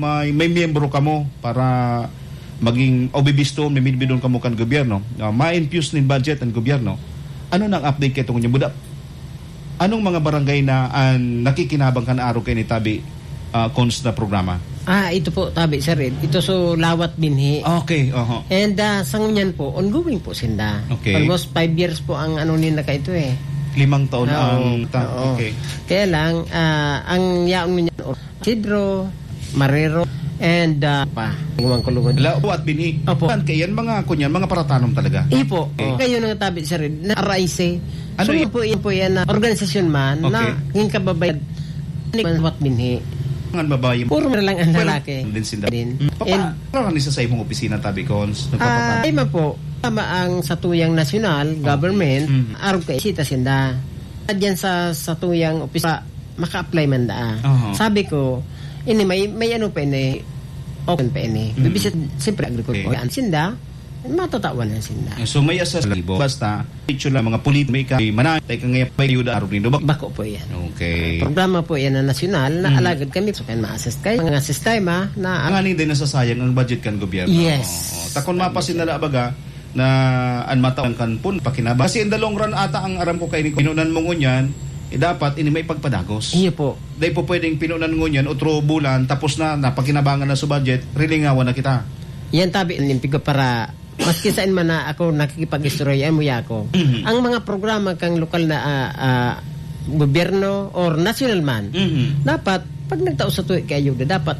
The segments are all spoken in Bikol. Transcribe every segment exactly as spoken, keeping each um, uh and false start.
may, may miyembro kamo para maging o bibiston, may bibidon kamo kan gobyerno. Ah, ma-infuse nin budget ang gobyerno. Ano na ang update kayo tungkol niya? Buda, anong mga barangay na ang nakikinabang kan arog kayo ni Tabi, ah, Cons na programa? Ah, ito po, Tabi, sir, eh. Ito so lawat binhi. Okay, oho. And, ah, sa ngunyan po, ongoing po sinda. Okay. Almost five years po ang ano nila ka ito, eh. Limang taon Oo, ang ta-, oo. Okay. Kaya lang, ah, ang yaon ngunyan, Sidro, Marero, and, ah, pa. Iwan ko lugod. Lawat binhi. Opo. Saan kayo yan? Mga, kunyan, mga paratanom talaga? Ipo. Okay. Kayo nang Tabi, sir, na R I C. Ano So, yun? yun po, yun po yan na organisasyon man na Okay. yung kababayan ni Manwat Binhi. Ang babae. Puro na lang ang Pwede lalaki. din sila. Din. Hmm. Papa, And ano lang isa sa imong opisina, Tabi Cons? Ah, Nagpapatama? ay, ma po. Tama ang satuyang nasyonal, Okay. government, Mm. arog ka isita sinda. Diyan sa satuyang opisina, maka-apply man daa. Aha. Sabi ko, ini may, may ano pa ini, open pa ini. Mm. Bibisit, siyempre, agriculture. Okay. Yan sinda, matatawan na sinda. So, may assess libo. Basta, picture lang, mga pulit, may ka, may manay, tayo ka ngayon, may yuda, arog nindo. Bak- Bako po yan. Okay. Programa po yan na nasyonal, na Mm. alagad kami, so, kan ma-assess kayo. Mga sistema na Ang ani din nasasayang ang budget kan gobyerno. Yes. Oo. Takon Tama mapasin siya. na lang, baga, na an mata kan pun pakinaba. Kasi in the long run ata ang aram ko kay ni pinunan mo ngunyan, eh, dapat ini may pagpadagos. Iyo po. Dahil po pwedeng pinunan ngunyan, otro bulan, tapos na, napakinabangan na sa budget, rilingawan na kita. Yan tabi, nimpigo para, maski saan man na ako nakikipag-istorya, mo ya ako. Mhm. Ang mga programa kang lokal na, ah, ah, gobyerno or national man, Mhm. dapat, pag nagtao sa tuwi kay ayuda, dapat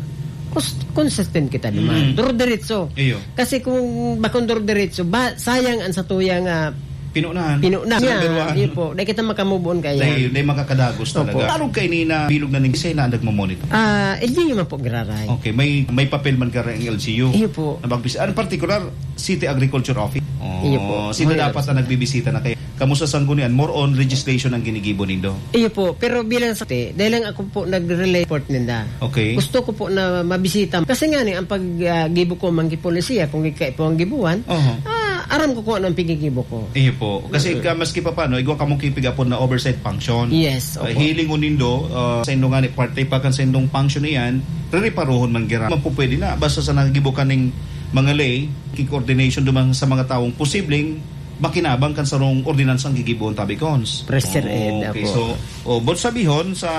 cons-, consistent kita naman. Mhm. Duro-diretso. Iyo. Kasi kung bakong duro-diretso, ba, sayang ang satuyang, ah, Pinunahan. pinunahan. Sa number one. Iyo po. Dahil kita makamove on kaya. Dahil, dahil makakadagos Opo. talaga. Arog kayo ni na bilog na ning Sena ang nagmamonitor? Ah, L G U man po, giraray. Okay, may, may papel man ka ang L G U. Iyo po. Na magbis-, ano, particular, City Agriculture Office? Oh, Iyo po. sino May dapat oras ang na. nagbibisita na kayo? Kamusta sa Sanggunian? More on legislation ang ginigibo nindo? Iyo po. Pero bilang sa, dahil lang ako po nagre-relay report ninda. Okay. Gusto ko po na mabisita. Kasi nga ni, ang pag, ah, gibo ko, manggi polisiya, kung ika po ang gibuan, Oho. ah, aram ko kung ano ang pigigibo ko. Iyo po. Kasi Mm. ka, maski pa paano, igwa ka mong kipigapon na oversight function. Yes, Ah, opo. hiling o nindo, ah, sa indong nga ni, parte pa kan sa indong function na yan, reriparuhon man gira. Mapupwede na. Basta sa nagibo ka ning mga lay, ki-coordination duman sa mga taong posibleng makinabang kan sarong ordinansang gigibohon, Tabi Cons. Press, Sir Ed, Okay, apo. so, oh, but sabihon, sa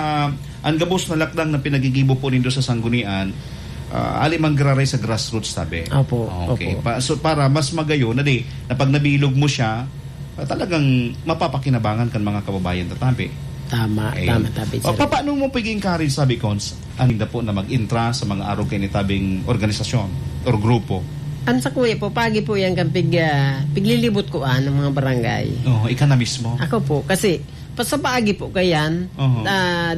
ang gabos na lakdang na pinagigibo po nindo sa Sanggunian, ah, ali man giraray sa grassroots, tabi. Apo, Okay. apo. Pa, so, para mas magayon na di, na pag nabilog mo siya, ah, talagang mapapakinabangan kan mga kababayan, tatabi. Tama, Ayun. tama, tabi, O, Sir Ed. papaano mo pag-encourage, Tabi Cons, ang dapo na mag-intra sa mga arog kay nitabing organisasyon or grupo? Ang sa kuya po, pagi po yan kan pig-, ah, piglilibot ko, ah, ng mga barangay. Oo, ika na mismo. Ako po, kasi pa-, sa paagi po kayan, Oo. ah,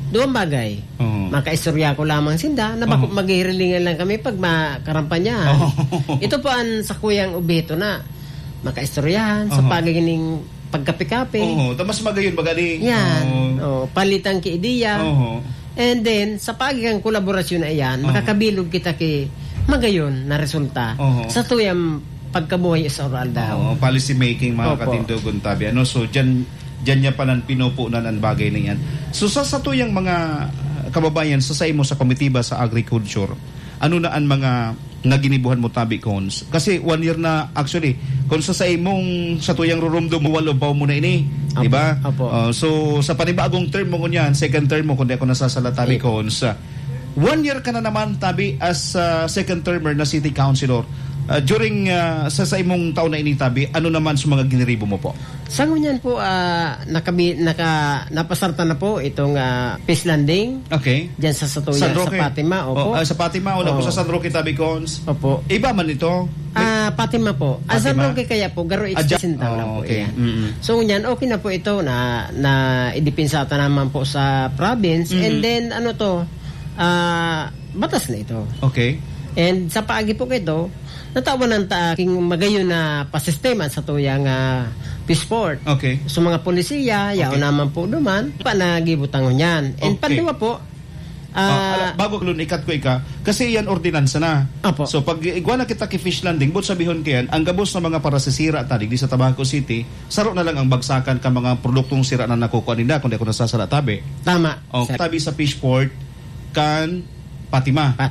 duwang bagay. Oo. Makaistorya ko lamang sinda, na bako Oo. maghihirilingan lang kami pag makarampanyahan. Oo. Ito po ang sa kuyang obheto na makaistoryahan, sa Oo. paagi ning pagkape-kape. Oo, ta mas magayon baga ni. Yan. Oo. Oh, palitan ki ideya. Oo. And then, sa paagi kan kolaborasyon na iyan, Oo. makakabilog kita ki magayon na resulta Oo. sa tuyang pagkabuhay sa oral daw. Oo, policy making, mga Opo. katindogon, tabi. Ano, so, dyan, dyan niya palan pinupunan ang bagay na yan. So, sa, sa tuyang mga, ah, kababayan, sa, sa imo sa komitiba sa agriculture, ano na ang mga nga ginibuhan mo, tabi, Cons? Kasi one year na, actually, kung sa, sa imong, sa tuyang rurumdom, walo pa mo na ini, Apo, di ba? apo. Oh, so, sa panibagong term mo ngunyan, second term mo, kung di ako nasasala, tabi, Opo. Cons, ah, one year ka na naman, tabi, as, ah, second termer na city councilor. Ah, during, ah, sa, sa imong taon na ini, tabi, ano naman sa mga giniribo mo po? Sa ngunyan po, ah, nakabi-, naka-, napasarta na po itong, ah, fish landing. Okay. Diyan sa Satuya, San Roque. sa Fatima, opo. Oh, ah, sa Fatima, una po Oo. sa San Roque, tabi, Cons. Opo. Iba man ito. May Ah, Fatima po. Ah, San Fatima. Roque kaya po, garo Ah, dyan. extension lang Oh, po okay. yan. Mm-mm. So, ngunyan, okay na po ito na, na idipinsa ta naman po sa province. And Mhm. then, ano to, ah, batas na ito. Okay. And sa paagi po kito, natawanan ta king magayon na pasistema sa tuyang, ah, peace port. Okay. So, mga polisiya, yaon Okay. naman po duman, pa nagibutangon yan. And Okay. panduwa po, Ah, ah, ala, bago ko lun, ikat ko ika, kasi yan ordinansa na. Apo. So, pag igwa na kita ki fish landing, but sabihon ko yan, ang gabos na mga parasisira ta digdi sa Tabaco City, saro na lang ang bagsakan ka mga produktong sira na nakukuha ninda, kung di ako nasasala, tabi. Tama, O, sir. tabi sa fish port, kan Fatima. Fatima.